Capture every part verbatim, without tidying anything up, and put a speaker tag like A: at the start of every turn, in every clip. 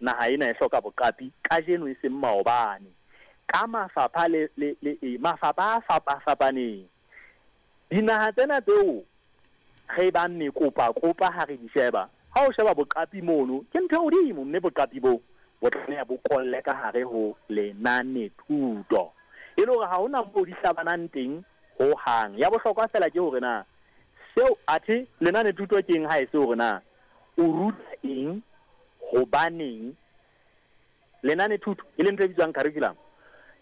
A: Naha ena e hloka boqapi kajeno e seng maobane. Ka mafapha le, le, le, e, mafapha a fapafapaneng. Dinaha tsena tseo re bang mekopakopa ha re di sheba, ha o sheba boqapi mono, ke ntho e hodimo, mme boqapi bo bo tlameha bo kolle ka hare ho lenanethuto. E le hore ha hona moo di hlabanang teng ho hang. Ya bohlokwa fela ke hore na seo athe lenanethuto ke eng ha e se hore na o ruta eng, hobaneng. Lenanethuto e leng ntho e bitswang curriculum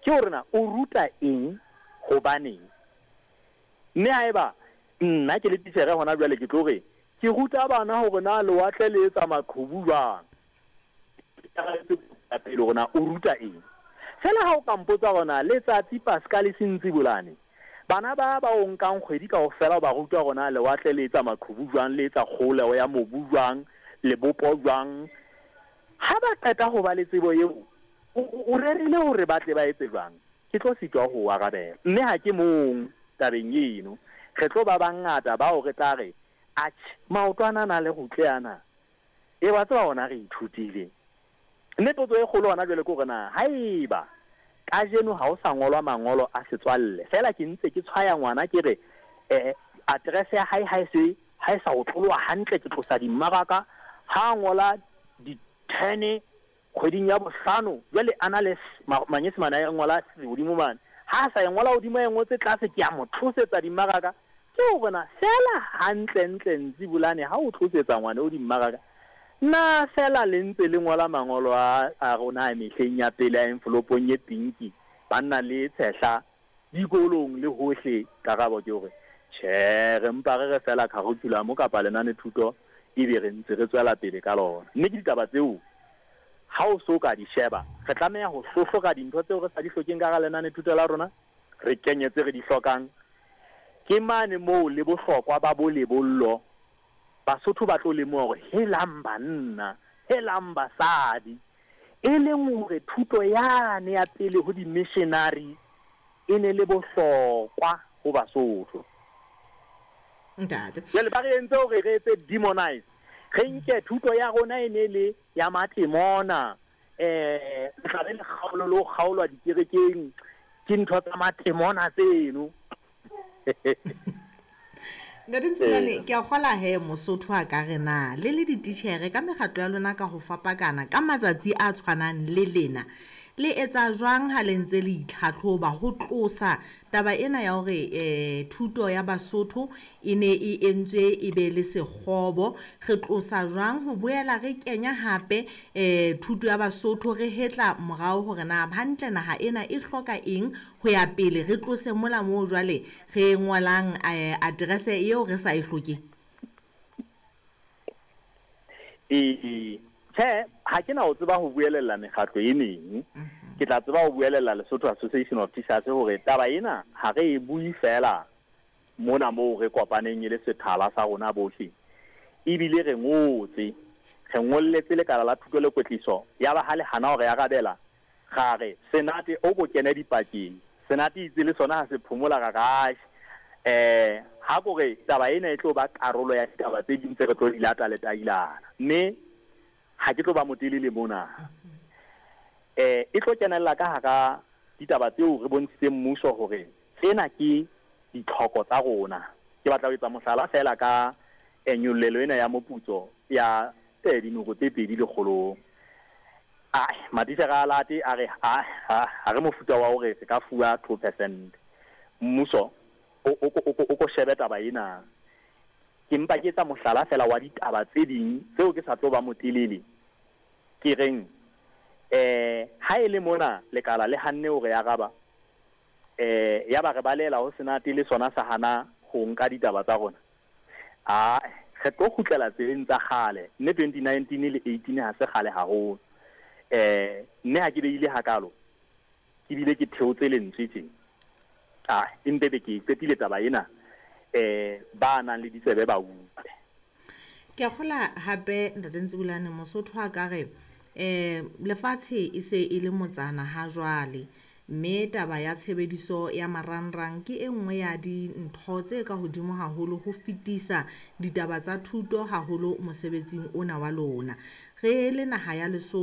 A: ke hore na o ruta eng, hobaneng. Mme haeba nna ke le titjhere hona jwale ke tlo re ke ruta bana hore na lewatle le etsa maqhubu jwang, pele hore na o ruta eng. Fela ha o ka mpotsa hore na letsatsi Pascal Sentsibolane, bana ba ba o nkang kgwedi kaofela o ba ruta hore na lewatle le etsa maqhubu jwang, le etsa kgoleho ya mobu jwang, lebopo jwang, ha ba qeta ho ba le tsebo eo, o rerile hore ba tle ba etse jwang, ke tlo sitwa ho arabela. Mme ha ke mong tabeng eno, re tlo ba bangata bao re tla re atjhe, maotwana a na le rutle ana, e wa tseba ona re ithutile. Mme potso e kgolo hona jwale ke hore na haeba kajeno ha o sa ngolwa mangolo a setswalle, fela ke ntse ke tshwaya ngwana ke re eh address ya hae ha e se ha e sa otloloha hantle, ke tlosa dimmaraka, ha ngola di-ten kgweding ya bohlano, jwale a na le manyesemane a ngola hodimo mane, ha sa e ngola hodimo a e ngotse tlase, ke a mo tlosetsa dimmaraka. Ke hore na fela hantle ntle Ntsibolane ha o tlosetsa ngwana o dimmaraka, na fela le ntse le ngola mangolo a a rona a mehleng ya pele a envelopong e pinki, banna le tshehla dikolong le hohle? Karabo ke hore tjhe, re mpa re re fela curriculum kapa lenanethuto ebe re ntse re tswela pele ka lona. Mme ke ditaba tseo ha o so ka di sheba, re tlameha ho hlohlora dintho tseo re sa di hlokeng ka hara lenanethuto la rona, re kenye tse re di hlokang. Ke mane moo le bohlokwa ba bo lebollo, Basotho ba tlo lemoha hore helang banna, helang basadi, e leng hore thuto yane ya pele ho di-missionary e ne le bohlokwa ho Basotho.
B: Ntate.
A: Jwale ba re entse hore re etse demonize, re nke thuto ya rona e ne le ya matemona, eh le tla be le kgaolo le ho kgaolwa dikerekeng ke ntho tsa matemona tseno.
B: Ntate Ntsibolane, ke a kgola he Mosotho a ka re na le le dititjhere ka mekgatlo ya lona ka ho fapakana ka matsatsi a tshwanang le lena, le etsa jwang ha le ntse le itlhatlhoba ho tlosa taba ena ya hore eh thuto ya Basotho e ne e entswe e be le sekgobo? Re tlosa jwang ho boela re kenya hape eh thuto ya Basotho, re hetla morao hore na hantle naha ena e hloka eng ho ya pele, re tlose mola moo jwale re ngolang eh address eo re sa e hlokeng?
A: E tjhe, ha ke na ho tseba ho buelella mekgatlo e meng. Ke tla tseba ho buelella Lesotho Association of Teachers hore taba ena ha re e bue fela mona moo re kopaneng e le sethala sa rona bohle, ebile re ngotse, re ngolletse lekala la thuto le kwetliso, ya ba ha le hana hore arabela, ra re senate o ko kene dipakeng, senate itse le sona ha se phomola ra ra eh ha kore taba ena e tlo ba karolo ya ditaba tse ding tse re tlo di lata le tailana. Mme ha ke tlo ba motelele mona, eh e tlo kenella ka hara ditaba tseo re bontshitseng mmuso hore tsena ke ditlhoko tsa rona. Ke batla ho etsa mohlala fela ka nyollelo ena ya moputso ya eh dinoko tse pedi lekgolong. Ai, matitjhere a late a re ha ha re mofuta wa hore re ka fuwa two percent. Mmuso o o o ko shebe taba ena. Ke mpa ke etsa mohlala fela wa ditaba tse ding tseo ke sa tlo ba motelele. Ke reng eh ha e le mona lekala le hanne hore ya raba, eh ya ba re balela ho senate le sona sa hana ho nka ditaba tsa rona, a re tlo kgutlela tseleng tsa kgale. Mme twenty nineteen le eighteen ha se kgale haholo. Eh mme ha ke beile hakalo, ke bile ke theotse lentswe tje, ah empe be ke qetile taba ena, eh ba nang le ditsebe ba utlwe.
B: Ke a kgola hape Ntate Ntsibolane, Mosotho a ka re eh lefatshe e se e le motsana ha jwale, mme taba ya tshebediso ya marangrang ke e nngwe ya dintho tse ka hodimo haholo ho fetisa ditaba tsa thuto haholo mosebetsing ona wa lona. Re le naha ya Lesotho